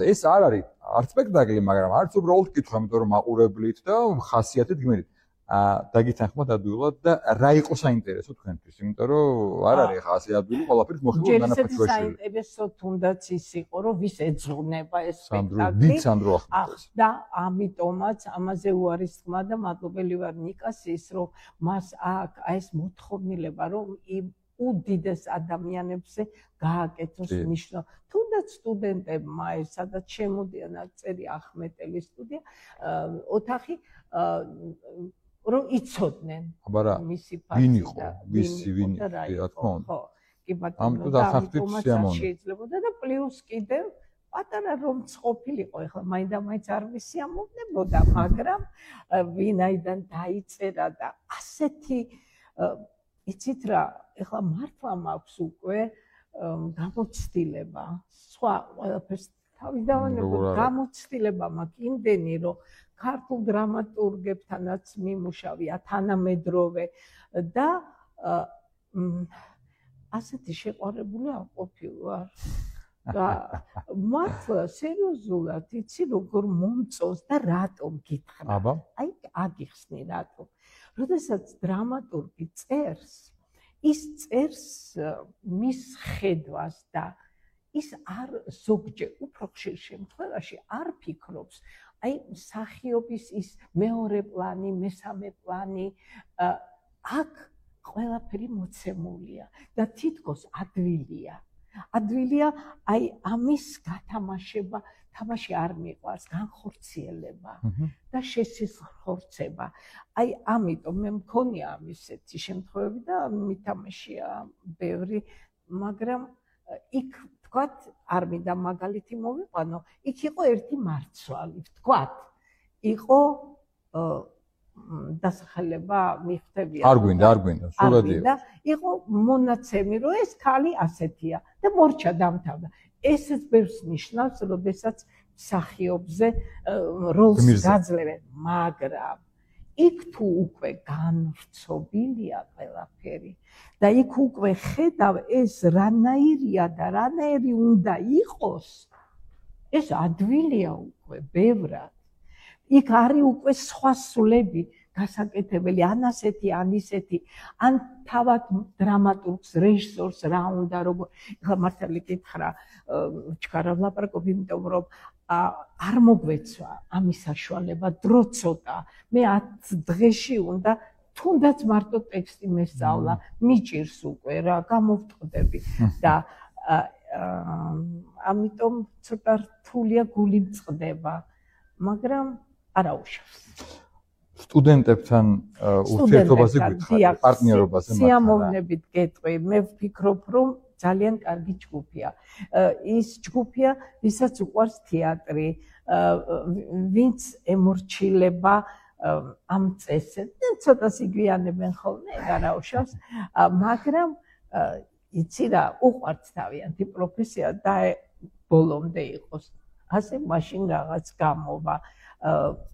ეს არ არის არც სპექტაკლი, მაგრამ არც უბრალოდ კითხვა, იმიტომ რომ მაყურებლით და ხასიათით გმირით. დაგითანხმოთ ადვილად და რა იყო საინტერესო თქვენთვის, იმიტომ რომ არ არის ხა ასე ადვილი ყველაფერს მოხიბლა დანაფაჩუაშვილი. საინტერესო თუნდაც ის იყო, რომ ვის ეძღვნება ეს სპექტაკლი. დიდ სანდრო ახმეტეს. და ამიტომაც ამაზე უარისხმა და მადლობელი ვარ ნიკას ის, რომ მას აქ ეს მოთხოვნილება, რომ უდიდეს ადამიანებზე გააკეთოს ნიშნო. თუნდაც სტუდენტებმა ეს სადაც შემოდიან წერი ახმეტელის სტუდია, ოთახი რომ იცოდნენ მისი ფაქტი ვინ იყო, ვინ რა თქმა უნდა. ხო, კი ბატონო, ამიტომ ახახდით სიამოვნებით. შეიძლებოდა და პლუს კიდევ პატარა რომ ყოფილიყო, ეხლა მაინდა-მაინც არ მისიამოვნებოდა, მაგრამ ვინაიდან დაიწერა და ასეთი იცით რა, ეხლა მართლა მაქვს უკვე გამოცდილება, სხვა ყველაფერს თავიდანვე გამოცდილება მაქვს იმდენი, რომ ქართულ დრამატურგებთანაც მიმუშავია თანამედროვე და ასეთი შეყვარებული არ ყოფილვარ. და მართლა სერიოზულად იცი როგორ მომწონს და რატომ გითხრა? აი აგიხსნი რატომ? როდესაც დრამატურგი წერს, ის წერს მის ხედვას და ის არ ზოგჯერ უფრო ხშირ შემთხვევაში არ ფიქრობს აი მსახიობის ის მეორე პლანი, მესამე პლანი აქ ყველაფერი მოცემულია და თითქოს ადვილია. ადვილია აი ამის გათამაშება, თამაში არ მიყვარს, განხორციელება და შესიზღვრება. აი ამიტომ მე მქონია ამისეთი შემთხვევები და მითამაშია ბევრი, მაგრამ იქ ვთქვათ, არ მინდა მაგალითი მოვიყვანო, იქ იყო ერთი მარცვალი, ვთქვათ, იყო დასახელება მიხვდებიან. არ გვინდა, სულადია. იყო მონაცემი, რომ ეს ქალი ასეთია და მორჩა დამთავრდა. ესეც ბევრს ნიშნავს, როდესაც მსახიობზე როლს გაძლევენ, მაგრამ იქ თუ უკვე განვრცობილია ყველაფერი და იქ უკვე ხედავ ეს რანაირია და რანაირი უნდა იყოს, ეს ადვილია უკვე ბევრად. იქ არის უკვე სხვა სულები გასაკეთებელი, ან ასეთი, ან ისეთი, ან თავად დრამატურგს, რეჟისორს რა უნდა, როგორ ეხლა მართალი კითხრა, ჩქარა ვლაპარაკობ, იმიტომ რომ არ მოგვეცვა ამის საშუალება, დრო ცოტა. მე 10 დღეში უნდა თუნდაც მარტო ტექსტი მესწავლა, მიჭირს უკვე რა, გამოვტყდები და ამიტომ ცოტა რთულია, გული მწყდება, მაგრამ არაუშავს. სტუდენტებთან ურთიერთობაზე გითხარით, პარტნიორობაზე მაგრამ სიამოვნებით გეტყვი, მე ვფიქრობ, რომ ძალიან კარგი ჯგუფია. ის ჯგუფია, ვისაც უყვარს თეატრი, ვინც ემორჩილება ამ წესებს, ცოტა სიგვიანებენ ხოლმე, არაუშავს, მაგრამ იცი რა, უყვართ თავიანთი პროფესია და ბოლომდე იყოს. ასე მაშინ რაღაც გამოვა.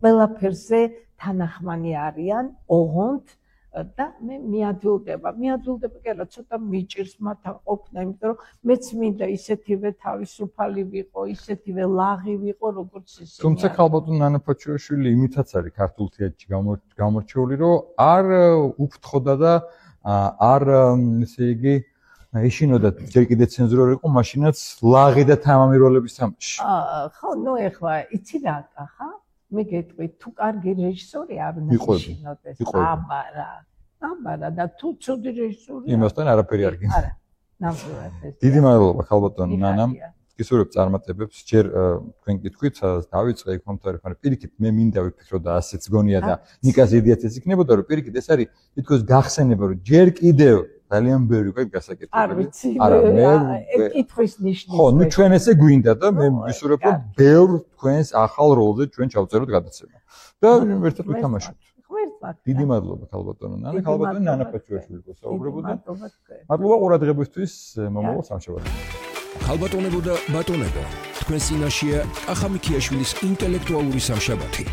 ყველაფერზე თანახმანი არიან, ოღონდ და მე მიადვილდება კი არა, ცოტა მიჭირს მათ ყოფნა, იმიტომ რომ მეც მინდა ისეთივე თავისუფალი ვიყო, ისეთივე ლაღი ვიყო, როგორც ისინი. თუმცა ქალბატონ ნანაფაჩუაშვილი იმითაც არის ქართულ თეატრში გამორჩეული, რომ არ უფრთხოდა და არ ესე იგი ეშინოდა ჯერ კიდე ცენზურა იყო, მაშინაც ლაღი და თამამი როლების თამაში. ხო, ნუ ეხლა იცი რა ხა? მე გეტყვი, თუ კარგი რეჟისორი არ უნდა ეშინოდეს. აბარა და თუ ცუდი რეჟისორი იმასთან არაფერი არ გინდა. არა, ნამდვილად ეს. დიდი მადლობა ქალბატონ ნანამ. გისურვებ წარმატებებს, ჯერ თქვენ კითხვით დავიწყე იქ მომთვარე ხარ. პირიქით მე მინდა ვიფიქრო და ასეც გონია და ნიკას იდეაც ეს იქნებოდა, რომ პირიქით ეს არის თითქოს გახსენება, რომ ჯერ კიდევ ძალიან ბევრი უკვე გასაკეთებელი. არ ვიცი. არა, მე კითხვის ნიშნის. ხო, ნუ ჩვენ ესე გვინდა და მე ვისურვებ, რომ ბევრ თქვენს ახალ როლზე ჩვენ ჩავწეროთ გადაცემა. და ერთად ვითამაშოთ. დიდი მადლობა ქალბატონო ნანა, ქალბატონი ნანაფაჩუაშვილი გასაუბრებოდა. მადლობა ყურადღებისთვის, მომავალ სამშაბათს. ქალბატონებო და ბატონებო, თქვენ წინაშეა კახა მიქიაშვილის ინტელექტუალური სამშაბათი.